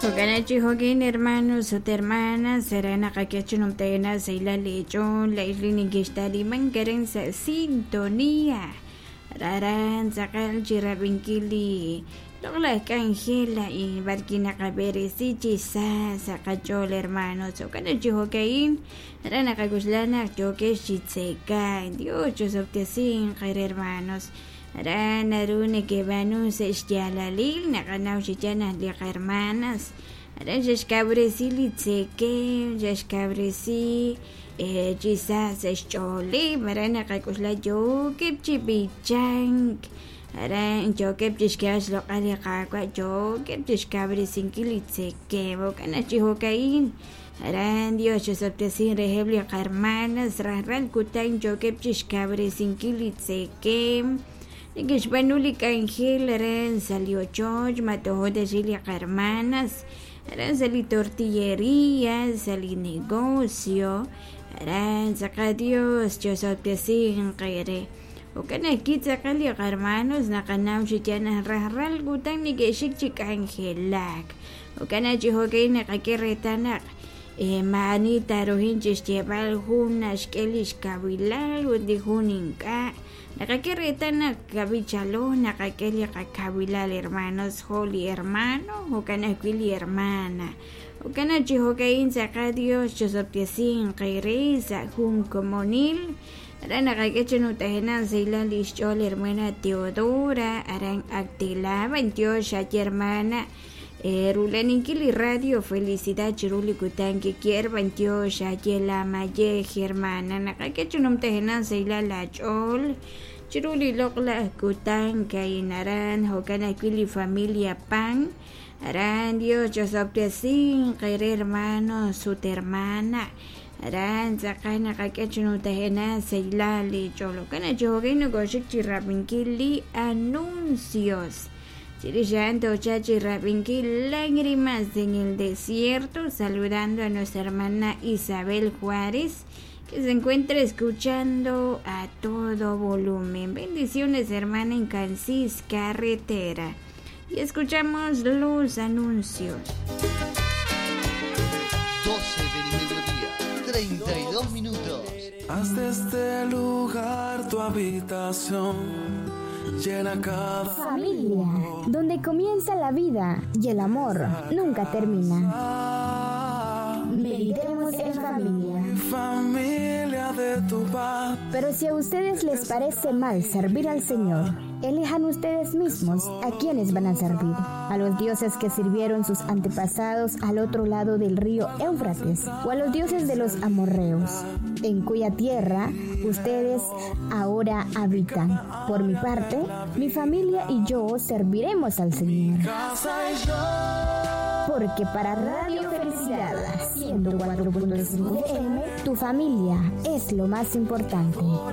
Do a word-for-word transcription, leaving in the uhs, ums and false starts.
Jo'kan chi jo'kan, hermanos ut hermanas, será naqak'e numtajenaq sahilal leech'ool laa'ex li nekexta'limank aran sa' sintonía aran tz'aqal chi rab'inkil li loq'laj k'anjel a'in b'arwi' naqab'eresi chi sa sa' qach'ool, hermanos. Jo'kan chi jo'ka'in aran naqak'oxla naq yookex chi tzekank. Dios chosob'tesinq hermanos. Aran naru nekeb'aanu sa' xyaalalil naqanaw chi yaal naq li qahermanas aran xe'xkawresi li tzekem, xe'xkawresi chi sa sa' xch'ooleb'. Aran naqak'oxla yookeb' chi b'ichank, aran yookeb' chixk'eb'al xloq'al li Qaawa', yookeb' chixkawresinkil li tzekem. Jo'kan chi jo'ka'in aran Dios chosob'tesin reheb' li qahermanas rajlal kutan yookeb' chixkawresinkil li tzekem, neke'xb'aanu li k'anjel aran sa' li ochoch matojo ta li qahermanas aran sa' li tortillería, sa' li negocio aran tz'aqal. Dios chosob'tesinq eere. Jo'kan ajwi' tz'aqal li qahermanos naqanaw chi yaal naq rajlal kutan neke'xik chi k'anjelak. Jo'kan chi jo'ka'in naqak'e reetal naq maa'ani taruhin chixyeeb'al jun naxk'e li xkawilal ut li jun ink'a'. Naqak'e reetal naq kab'ichalo naqak'e li qakawilal, hermanos, jo' li hermano, jo'kan ajwi' li hermana. Jo'kan chi jo'ka'in tz'aqal Dios chosob'tesinq eere sa' jun komonil. Aran naqak'e chi numtajenaq sahilal li xch'ool hermana Teodora aran Actilaba. Dios xaye, hermana, rulaninkil li Radio Felicidad chiru li kutan kikier. Dios xaye la mayej, hermana. Naqak'e chi numtajenaq sahilal laach'ool chiru li loq'laj kutan ka'in aran. Jo'kan ajwi' li familia Pan aran. Dios chosob'tesinq eere, hermanos ut hermana. Aran tz'aqal naqak'e chi numtajenaq sahilal li ch'ool. Jo'kan chi jo'kan nokoxik chi rab'inkil li anuncios. Chirix a'an tocha chi rab'inkil Lágrimas en el Desierto, saludando a nuestra hermana Isabel Juárez, que se encuentra escuchando a todo volumen. Bendiciones, hermana, en Cancis Carretera. Y escuchamos los anuncios. doce del mediodía, treinta y dos minutos. Haz de este lugar tu habitación. Llena cada familia, donde comienza la vida y el amor nunca termina. Meditemos en familia. Familia de tu paz. Pero si a ustedes les parece mal servir al Señor, elijan ustedes mismos a quienes van a servir. A los dioses que sirvieron sus antepasados al otro lado del río Éufrates o a los dioses de los amorreos, en cuya tierra ustedes ahora habitan. Por mi parte, mi familia y yo serviremos al Señor. Porque para Radio Felicidad ciento cuatro punto cinco F M, tu familia es lo más importante.